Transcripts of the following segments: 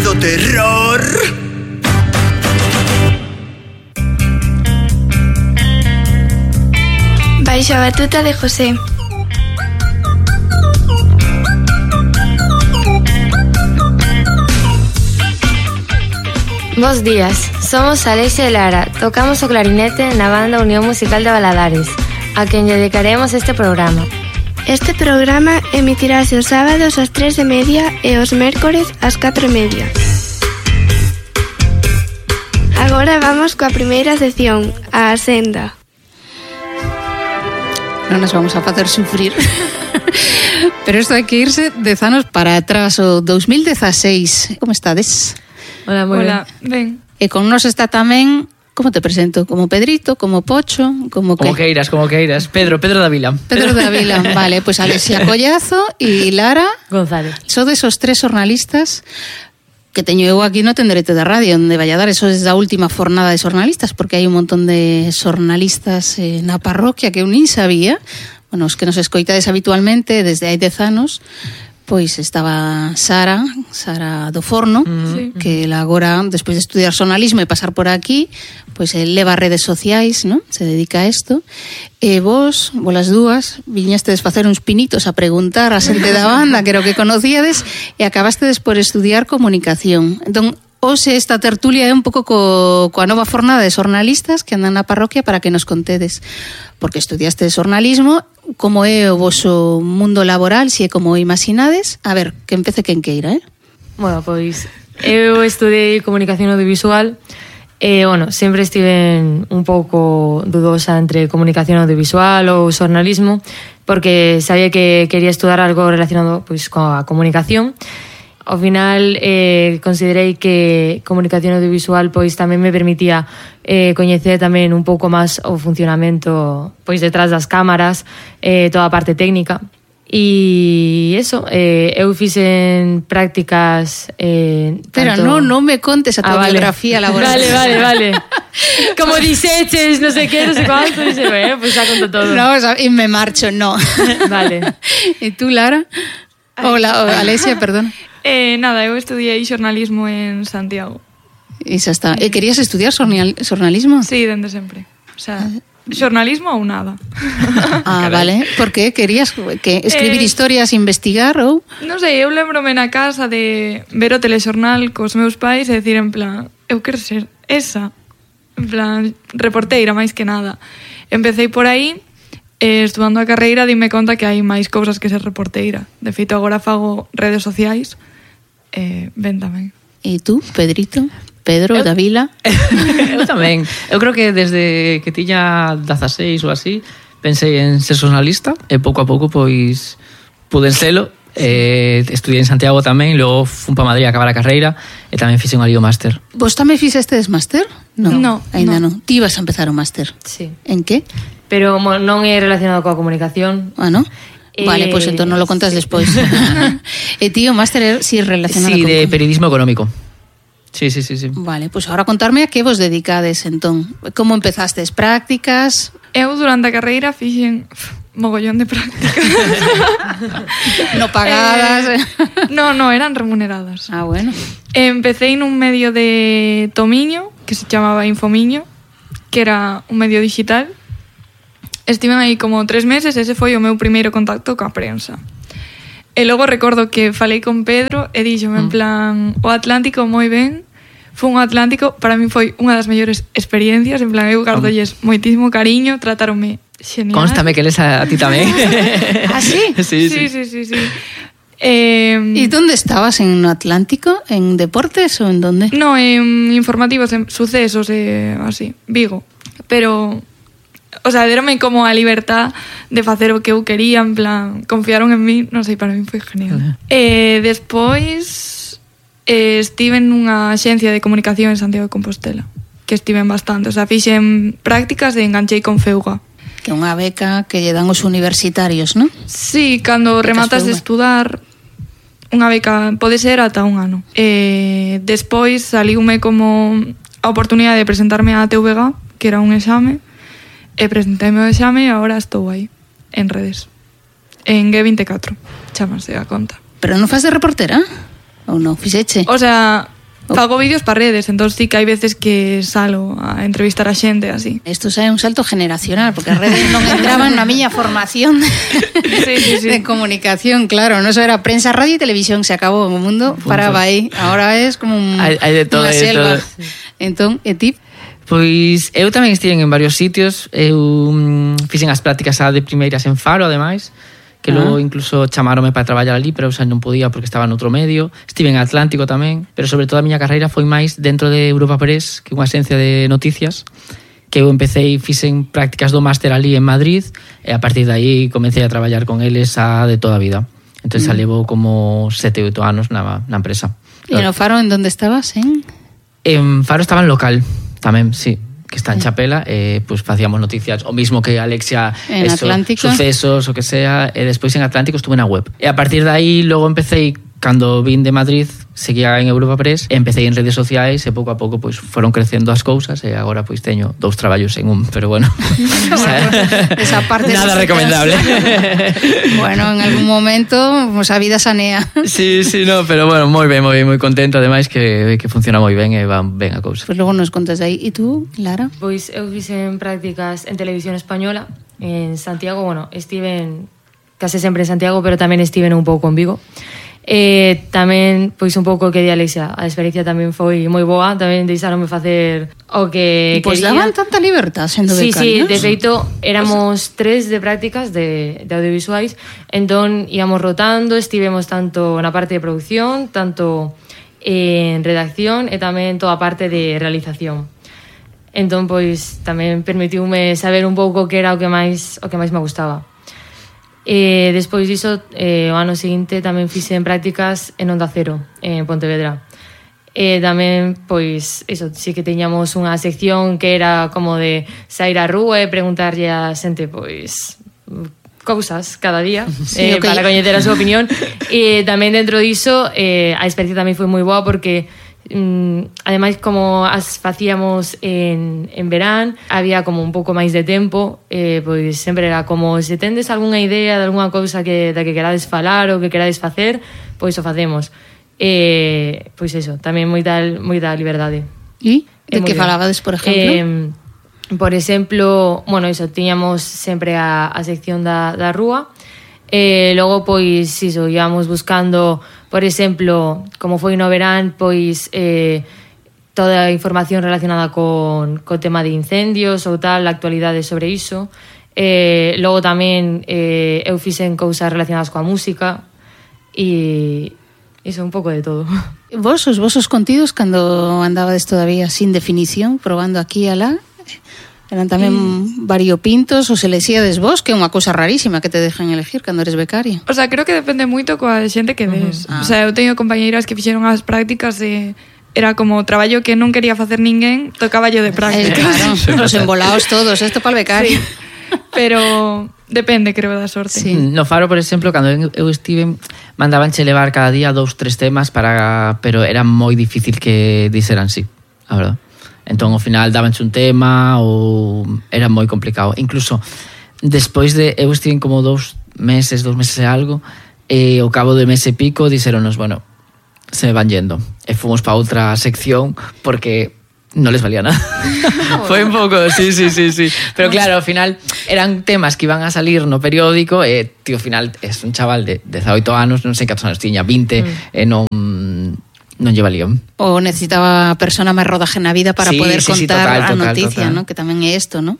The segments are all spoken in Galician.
do terror. Baixo a batuta de José. Bos días, somos Alexia e Lara. Tocamos o clarinete na banda Unión Musical de Valadares, a quen lle dedicaremos este programa. Este programa emitirase os sábados ás 3:30 e os mércores ás 4:30. Agora vamos coa primeira sección, a Senda. Non nos vamos a facer sufrir. Pero isto hai que irse 10 anos para atrás, o 2016. Como estades? Hola, moi ben. E con nos está tamén, como te presento? Como Pedrito, como Pocho, como que? Como queiras. Pedro Davila. Pedro Davila, vale, pues Alexia Collazo e Lara González. Sodes os tres xornalistas que teño eu aquí no Tenderete da Radio, onde vai a dar eso desde a última fornada de xornalistas, porque hai un montón de xornalistas na parroquia que eu nin sabía. Bueno, os que nos escoitades habitualmente desde hai 10 anos, pois estaba Sara do Forno, que ela agora, despois de estudiar xornalismo e pasar por aquí, pois leva redes sociais, non? Se dedica a isto. E vos as dúas, viñestes facer uns pinitos a preguntar a xente da banda, que era o que conocíades, e acabastedes por estudiar comunicación. Entón, hoxe esta tertulia é un pouco coa nova fornada de xornalistas que andan na parroquia para que nos contedes, porque estudiaste xornalismo, como é o voso mundo laboral, se é como o imaginades. A ver, que empece quen queira, Bueno, pois eu estudei comunicación audiovisual e, bueno, sempre estive un pouco dudosa entre comunicación audiovisual ou xornalismo, porque sabía que quería estudar algo relacionado pois coa comunicación. Ao final considerei que comunicación audiovisual pois tamén me permitía coñecer tamén un pouco máis o funcionamento pois detrás das cámaras, toda a parte técnica. E eso, eu fixen prácticas Pero tanto... non me contes a tua biografía laboral. Vale. Como diseches, non sei que, non sei cuánto, dixe, pois xa conto todo. No, e me marcho, no. Vale. E tú, Lara? Hola, Alexia, perdón. Nada, eu estudiei xornalismo en Santiago. E xa está. E querías estudiar xornalismo? Sí, dende sempre. O sea, xornalismo ou nada. Vale. Por que? Querías que escribir historias, investigar ou? Non sei, eu lembrome na casa de ver o telexornal cos meus pais e decir en plan, eu quero ser esa. En plan, reporteira máis que nada. Empecé por aí, estudando a carreira, dime conta que hai máis cousas que ser reporteira. De feito, agora fago redes sociais. Ben tamén. E tú, Pedrito? Pedro Davila? Eu tamén. Eu creo que desde que tiña 16 ou así, pensei en ser xornalista e pouco a pouco pois puden selo. Estudiei en Santiago tamén, logo fun para Madrid a acabar a carreira e tamén fixe un alío máster. Vos tamén fixestes máster? No, ainda non. Ti ibas a empezar o máster? Sí. En que? Pero non é relacionado coa comunicación. ¿No? Vale, pois entón non lo contas despois. E ti o máster si relacionado con... de periodismo económico. Sí. Vale, pois agora contarme a que vos dedicades entón. Como empezastes? Prácticas? Eu durante a carreira fixen mogollón de prácticas. No pagadas. No, eran remuneradas. Bueno. Empecé nun medio de Tomiño, que se chamaba Infomiño, que era un medio digital. Estiven aí como 3 meses, ese foi o meu primeiro contacto coa prensa. E logo recordo que falei con Pedro e díxome en plan, o Atlántico moi ben, fun ao Atlántico, para mí foi unha das mellores experiencias, en plan, eu gardolles moitísimo cariño, tratáronme genial. Constame que les a ti tamén. ¿Ah, sí? Sí. ¿Y dónde estabas? ¿En Atlántico? ¿En deportes o en dónde? No, en informativos, en sucesos, así, Vigo. Pero... O sea, deronme como a libertad de facer o que eu quería, en plan, confiaron en mí, non sei, para mí foi genial. Despois estive nunha axencia de comunicación en Santiago de Compostela, que estiven bastante, o sea, fixen prácticas e enganchei con Feuga. Que é unha beca que lle dan os universitarios, non? Sí, cando rematas de estudar, unha beca pode ser ata un ano. Despois saliume como a oportunidade de presentarme á TVG, que era un exame, e presentei-me o exame e agora estou aí, en redes. En G24, chámase a conta. Pero non faz de reportera? Ou non? Fixeche? O sea, fago vídeos para redes, entón sí que hai veces que salo a entrevistar a xente así. Isto xa é un salto generacional, porque as redes non entraban na miña formación Sí. de comunicación, claro, non só era prensa, radio e televisión, se acabou o mundo, paraba aí. Ahora é como Hai de todo, unha hai de selva. todo. Entón, e ti? Pois eu tamén estiven en varios sitios. Eu fixen as prácticas de primeiras en Faro, ademais, que logo incluso chamáronme para traballar ali, pero eu xa non podía porque estaba noutro medio. Estive en Atlántico tamén, pero sobre todo a miña carreira foi máis dentro de Europa Press, que é unha agencia de noticias, que eu empecé e fixen prácticas do máster ali en Madrid, e a partir de aí comecei a traballar con eles de toda a vida. Entón xa levo como 7 ou 8 anos na empresa. E no Faro en donde estabas, En Faro estaba en local tamén, sí, que está en Chapela, pues facíamos noticias, o mismo que Alexia, en Atlántico, sucesos, o que sea, e despois en Atlántico estuve na web. E a partir de aí, logo empecé, cando vin de Madrid, seguía en Europa Press, empecé en redes sociais e pouco a pouco pues, foron crecendo as cousas e agora pois teño 2 traballos en un, pero bueno. Esa parte nada recomendable. Bueno, en algún momento pues, a vida sanea. Sí, no, pero bueno, moi ben, moi contento, ademais que funciona moi ben e van ben a cousa. Pues logo nos contas aí. E tú, Lara? Pois eu fixen prácticas en Televisión Española en Santiago, bueno, estiven case sempre en Santiago, pero tamén estiven un pouco en Vigo. Tamén, pois un pouco que di Alexia, a experiencia tamén foi moi boa, tamén deixaronme facer o que pois quería. daban tanta libertad sendo becarios. Sí, becarios. de feito, éramos 3 de prácticas de audiovisuais, entón íamos rotando, estivemos tanto na parte de producción, tanto en redacción e tamén toda a parte de realización. Entón, pois, tamén permitiume saber un pouco que era o que máis me gustaba. Despois diso, o ano seguinte tamén fixen prácticas en Onda Cero, en Pontevedra. Tamén, pois, eso, sí que teñamos unha sección que era como de sair á rúa e preguntarlle a xente, pois, cousas cada día, sí, okay, para coñecer a súa opinión. E tamén dentro diso, a experiencia tamén foi moi boa porque ademais como as facíamos en verán, había como un pouco máis de tempo, pois sempre era como se tendes algunha idea de algunha cousa da que querades falar ou que querades facer, pois o facemos. Pois eso, tamén moita liberdade. E de que falabades, por exemplo? Por exemplo, bueno, iso, tiñamos sempre a sección da rúa. Logo, pois, iso, íamos buscando, por exemplo, como foi no verán, pois toda a información relacionada con tema de incendios ou tal, a actualidade sobre iso. Logo tamén eu fixen cousas relacionadas coa música e iso, un pouco de todo. Os vosos contidos, cando andabades todavía sin definición, probando aquí e alá, eran tamén variopintos, ou se lexíades vos, que é unha cousa rarísima que te dejan elegir cando eres becaria. O sea, creo que depende moito coa xente que des. O sea, eu teño compañeiras que fixeron as prácticas e era como traballo que non quería facer ninguén, tocaba yo de prácticas. Claro, os embolaos todos, esto para el becario. Sí. Pero depende, creo, da sorte. Sí. No Faro, por exemplo, cando eu estive, mandabanche levar cada día 2-3 temas pero era moi difícil que dixeran sí, a verdade. Entón, ao final, dabanche un tema ou era moi complicado. Incluso, despois de... Eu estive como 2 meses e algo, e ao cabo de mes e pico, dixeronos, bueno, se me van yendo. E fomos para outra sección, porque non les valía nada. Foi un pouco... Sí. Pero claro, ao final, eran temas que iban a salir no periódico, e, tío, ao final, es un chaval de 18 anos, non sei cantos anos tiña, 20, e non lleva lío. O necesitaba a persona máis rodaje na vida para poder contar a noticia, total. ¿no? Que tamén é isto, ¿no?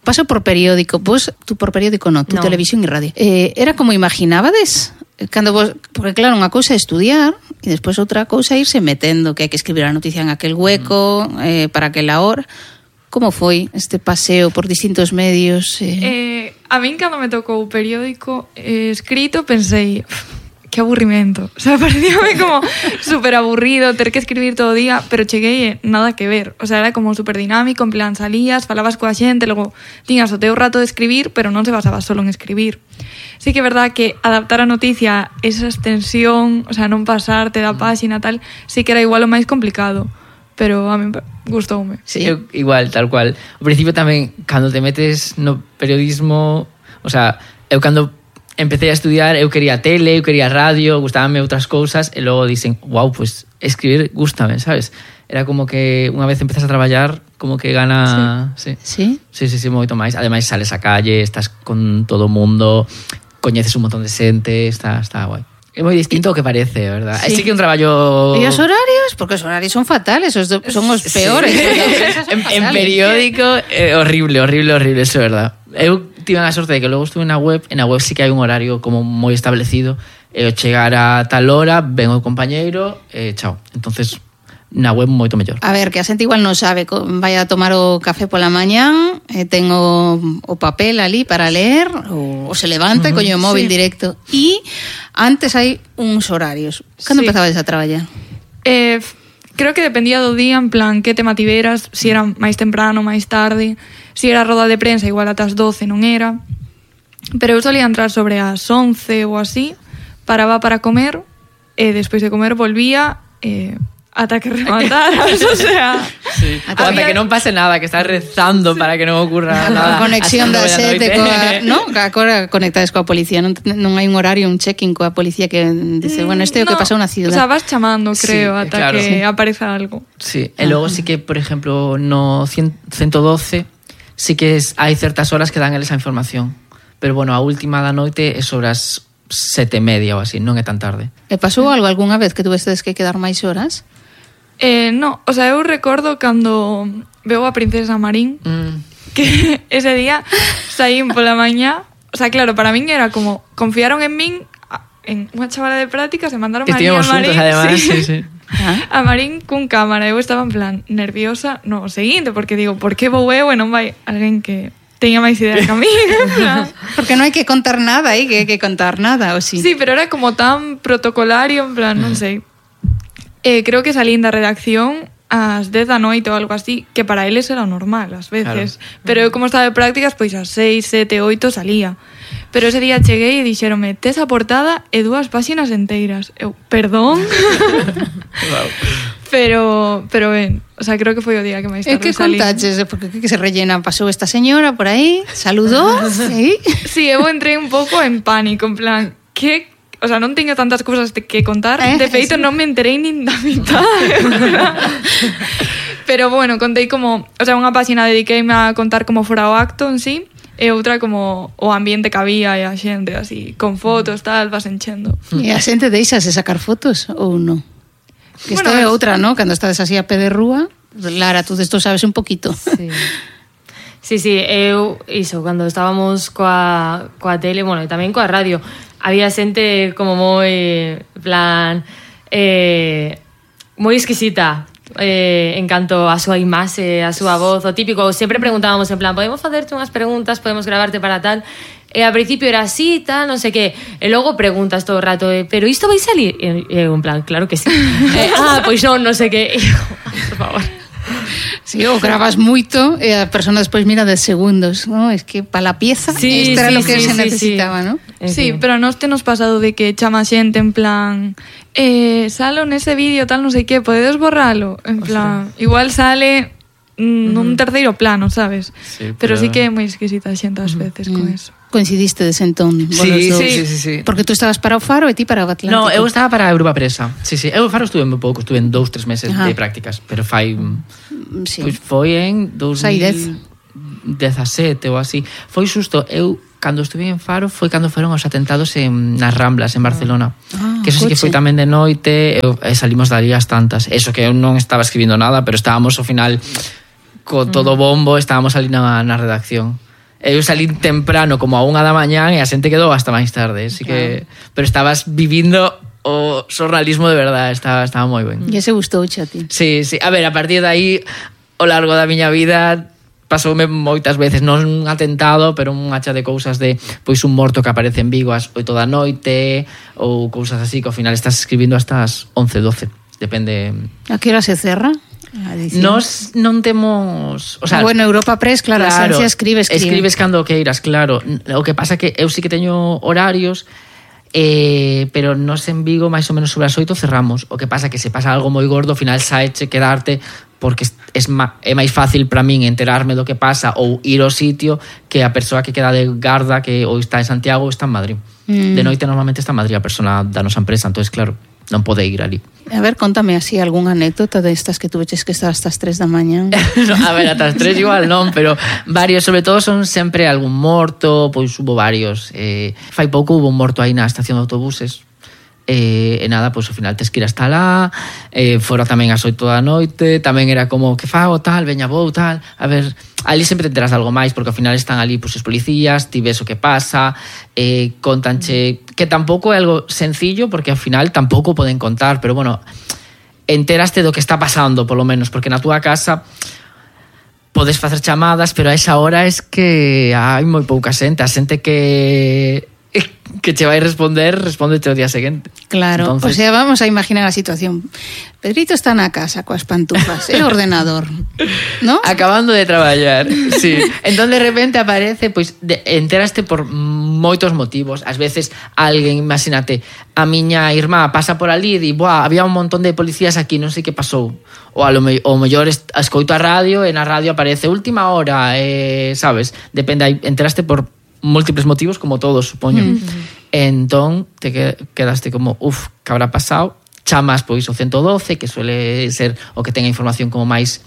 Paso por periódico, vos, tú por periódico no, tú no. Televisión e radio. Era como imaginabades? Cando vos, porque claro, unha cousa é estudiar e despois outra cousa é irse metendo, que hai que escribir a noticia en aquel hueco, para aquela hora. Como foi este paseo por distintos medios? A min, cando me tocou o periódico escrito, pensei... que aburrimento. O sea, parecíame como súper aburrido ter que escribir todo o día, pero cheguei nada que ver. O sea, era como súper dinámico, en plan salías, falabas coa xente, logo tiñas o teu rato de escribir, pero non se basaba solo en escribir. Sí que é verdad que adaptar a noticia, esa extensión, o sea, non pasarte da páxina tal, sí que era igual o máis complicado. Pero a mí gustoume. Sí, eu, igual, tal cual. Ao principio tamén, cando te metes no periodismo, o sea, eu cando empecé a estudiar, eu quería tele, eu quería radio, gustábanme outras cousas, e logo dicen, wow, pues escribir gústame, sabes? Era como que unha vez empezas a traballar, como que gana... Sí. Sí? Sí, moito máis. Ademais, sales a calle, estás con todo o mundo, coñeces un montón de xente, está guai. É moi distinto ao que parece, verdad? Sí. Sí que un traballo... E os horarios? Porque os horarios son fatales, son os peores. En periódico, horrible, eso é verdad. Eu tive a sorte de que logo estuve na web sí que hai un horario como moi establecido, e ao chegar a tal hora, ven o compañeiro, chao. Entonces, na web moito mellor. A ver, que a xente igual non sabe, vai a tomar o café pola mañán, ten o papel ali para ler, ou se levanta e coño o móvil directo. E antes hai uns horarios. Cando empezabas a traballar? Creo que dependía do día, en plan, que tema tiveras, si era máis temprano, máis tarde, si era roda de prensa, igual ata as 12 non era. Pero eu solía entrar sobre as 11 ou así, paraba para comer, e despois de comer volvía, ata que remataras, o sea... Sí. Ata que non pase nada, que estás rezando para que non ocurra nada. A conexión da sete no? Agora conectades coa policía, non hai un horario, un check-in coa policía que dice, bueno, este é o que pasou na ciudad. O sea, vas chamando, creo, ata que apareza algo. Sí, e logo sí que, por exemplo, no 112 sí que hai certas horas que dan eles a información. Pero, bueno, a última da noite é sobre as 7:30 ou así, non é tan tarde. E pasou algo algunha vez que tuvestes que quedar máis horas? No, o sea, eu recordo cando veo a Princesa Marín que ese día saín pola mañá, o sea, claro, para min era como confiaron en min, en unha chavala de prácticas e mandaron a Marín, además, sí. A Marín cun cámara, eu estaba en plan nerviosa, no, o seguinte, porque digo, por que vou eu e non vai alguén que teña máis idea que a mí? Porque non hai que contar nada, que hai que contar nada, ou sí? Sí, pero era como tan protocolario, en plan, non sei. Creo que salín da redacción ás 10 da noite ou algo así, que para eles era normal, ás veces. Claro. Pero eu, como estaba de prácticas, pois ás 6, 7, 8 salía. Pero ese día cheguei e dixeronme, tes a portada e 2 páxinas enteiras. Eu, perdón? Wow. Pero ben, o sea, creo que foi o día que máis tarde que salí. contaches? Porque que se rellena? Pasou esta señora por aí, saludou, sí? Sí, eu entrei un pouco en pánico, en plan, que... O sea, non teño tantas cousas que contar. De feito, non me enterei nin da mitad. Pero, bueno, contei como... O sea, unha páxina dediqueime a contar como fora o acto en sí, e outra como o ambiente que había e a xente, así, con fotos, tal, vas enchendo. E a xente deixase sacar fotos ou non? Que bueno, isto é outra, ¿no? Cando estás así a pé de rúa, Lara, tú desto sabes un poquito. Sí, eu, iso, cando estábamos coa tele, bueno, e tamén coa radio, había xente como moi, plan, moi exquisita en canto a súa imaxe, a súa voz, o típico, sempre preguntábamos en plan, podemos facerte unhas preguntas, podemos gravarte para tal, e ao principio era así, tal, non sei que, e logo preguntas todo o rato, pero isto vai salir? E eu en plan, claro que sí. Pois non sei que, por favor. Sí, o grabas moito e a persona despois mira 10 segundos, ¿no? Es que para la pieza esto era lo que se necesitaba, ¿no? Sí, pero nos tenos pasado de que chama xente en plan salo nese vídeo tal, non sei que, podedes borralo? En plan, igual sale nun terceiro plano, sabes? Sí, pero sí que é moi exquisita a xente ás veces con eso. Coincidiste de sentón. Sí. Porque tú estabas para o Faro e ti para o Atlántico. No, eu estaba para a Europa Presa. Sí. Eu o Faro estuve moi pouco, estuve en 2-3 meses de prácticas, pero fai... Pois foi en 2017 ou así. Foi xusto, eu cando estuve en Faro foi cando foron os atentados nas Ramblas, en Barcelona. Que eso sí que foi tamén de noite, e salimos dali as tantas. Eso que eu non estaba escribindo nada, pero estábamos ao final co todo bombo, estábamos ali na redacción. Eu salí temprano como a 1 da mañán e a xente quedou hasta máis tarde, así que pero estabas vivindo o xornalismo de verdade, estaba moi ben. E ese gustou a ti? Sí, a ver, a partir de aí ao largo da miña vida pasoume moitas veces, non un atentado, pero un hacha de cousas de pois un morto que aparece en Vigo ás 8 da noite ou cousas así que ao final estás escribindo hasta as 11, 12, depende. A que hora se cerra? Nos non temos, o sea, bueno, Europa Press, claro, a xencia escribe. Escribes cando queiras, claro. O que pasa que eu sí que teño horarios, pero nos en Vigo máis ou menos sobre as 8 cerramos. O que pasa que se pasa algo moi gordo, ao final saeche quedarte, porque é máis fácil para min enterarme do que pasa ou ir ao sitio que a persoa que queda de garda que ou está en Santiago ou está en Madrid. De noite normalmente está en Madrid a persona da nosa empresa, entonces claro, non pode ir ali. A ver, contame así algunha anécdota destas que tuveches que estar hasta as 3 da mañá. No, a ver, ata as 3 igual non, pero varios, sobre todo son sempre algún morto, pois hubo varios. Fai pouco hubo un morto aí na estación de autobuses. E nada, pois ao final tes que ir hasta lá, fora tamén ás 8 da noite, tamén era como que fago tal, veña vou tal, a ver, ali sempre te enteras algo máis porque ao final están ali pois os policías, ti ves o que pasa, contanche que tampouco é algo sencillo porque ao final tampouco poden contar, pero bueno, enteraste do que está pasando polo menos, porque na túa casa podes facer chamadas, pero a esa hora es que hai moi pouca xente, a xente que che vai responder, respóndete o día seguinte. Claro, entonces... o sea, vamos a imaginar a situación. Pedrito está na casa coas pantufas e o ordenador, ¿no? Acabando de traballar, sí. Entón, de repente aparece, pois, enteraste por moitos motivos. Ás veces, alguén, imagínate, a miña irmá pasa por ali e di, buah, había un montón de policías aquí, non sei que pasou. Ou o mellor escoito a radio e na radio aparece última hora, sabes? Depende, enteraste por múltiples motivos, como todos, supoño. Entón, te quedaste como, que habrá pasado? Chamas, pois, o 112, que suele ser o que tenga información como máis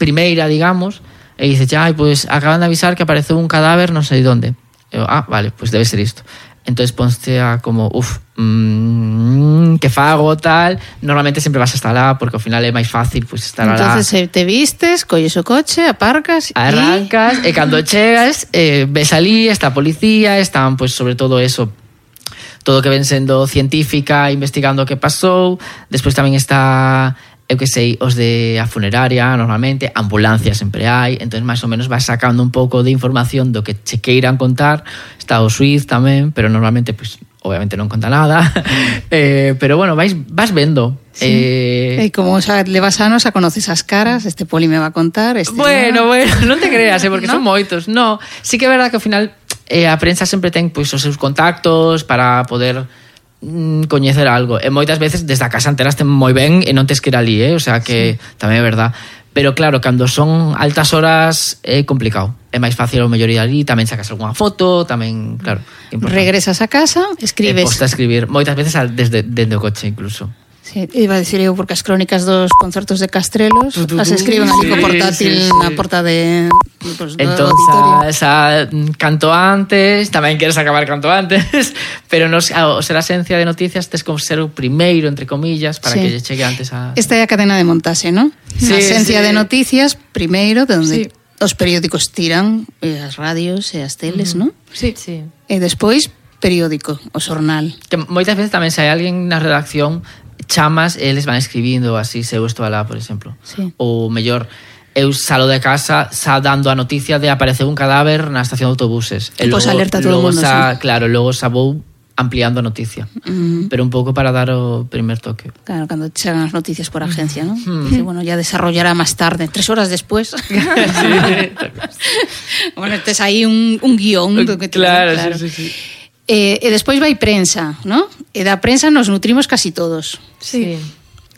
primeira, digamos, e dices, pois, acaban de avisar que apareceu un cadáver non sei onde. Eu, vale, pois debe ser isto. Entonces ponste a como, que fago, tal. Normalmente sempre vas hasta lá, porque ao final é máis fácil pois, estar alá. Entonces te vistes, colles o coche, aparcas arrancas, e cando chegas ves ali, está a policía, están, pois, sobre todo eso, todo que ven sendo científica, investigando o que pasou. Despois tamén está, eu que sei, os de a funeraria, normalmente, ambulancia sempre hai, entón máis ou menos vas sacando un pouco de información do que che queiran contar. Está o Suiz tamén, pero normalmente, pois, obviamente non conta nada, pero bueno, vas vendo. Sí. E como xa levas anos, xa conoces as caras, este poli me va a contar, Bueno, non te creas, porque ¿no? Son moitos. No, sí que é verdad que ao final a prensa sempre ten pois, os seus contactos para poder coñecer algo. E moitas veces desde a casa enteraste moi ben e non tes que ir ali, o sea que tamén é verdad. Pero claro, cando son altas horas é complicado. É máis fácil o mellor ir ali, tamén sacas algunha foto, tamén, claro. Regresas a casa, escribes. Posta a escribir, moitas veces desde o coche incluso. Sí, iba a decir eu, porque as crónicas dos concertos de Castrelos as escriben ali co portátil na porta de pues, entón, canto antes, tamén queres acabar canto antes, pero ao ser a esencia de noticias tes como ser o primeiro, entre comillas, para que lle chegue antes a... Esta é a cadena de montaxe, ¿no? Sí, a esencia de noticias, primeiro, de onde os periódicos tiran, as radios e as teles, ¿no? Sí. E despois, periódico, o xornal. Que moitas veces tamén se hai alguén na redacción chamas, eles van escribindo así, se eu estou alá, por exemplo. Sí. Ou mellor, eu salo de casa dando a noticia de apareceu un cadáver na estación de autobuses. E pois alerta todo o mundo, sí. Claro, logo xa vou ampliando a noticia. Pero un pouco para dar o primer toque. Claro, cando chegan as noticias por agencia, ¿no? Dice, bueno, ya desarrollará máis tarde, 3 horas después. Bueno, tes aí un guión. Claro, sí. E despois vai prensa, ¿no? E da prensa nos nutrimos casi todos. Sí.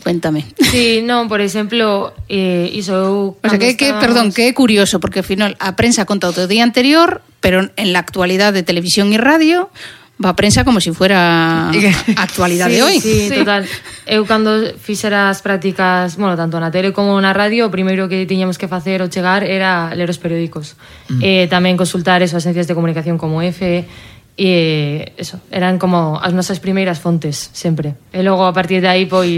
Cuéntame. Sí, non, por exemplo, iso... O sea, perdón, que é curioso, porque ao final a prensa conta o día anterior, pero en la actualidad de televisión e radio va a prensa como si fuera a actualidade de hoy. Sí, total. Eu cando fixera as prácticas, bueno, tanto na tele como na radio, o primeiro que tiñamos que facer ou chegar era ler os periódicos. Tamén consultar esas agencias de comunicación como EFE, e eso, eran como as nosas primeiras fontes sempre. E logo a partir de aí pois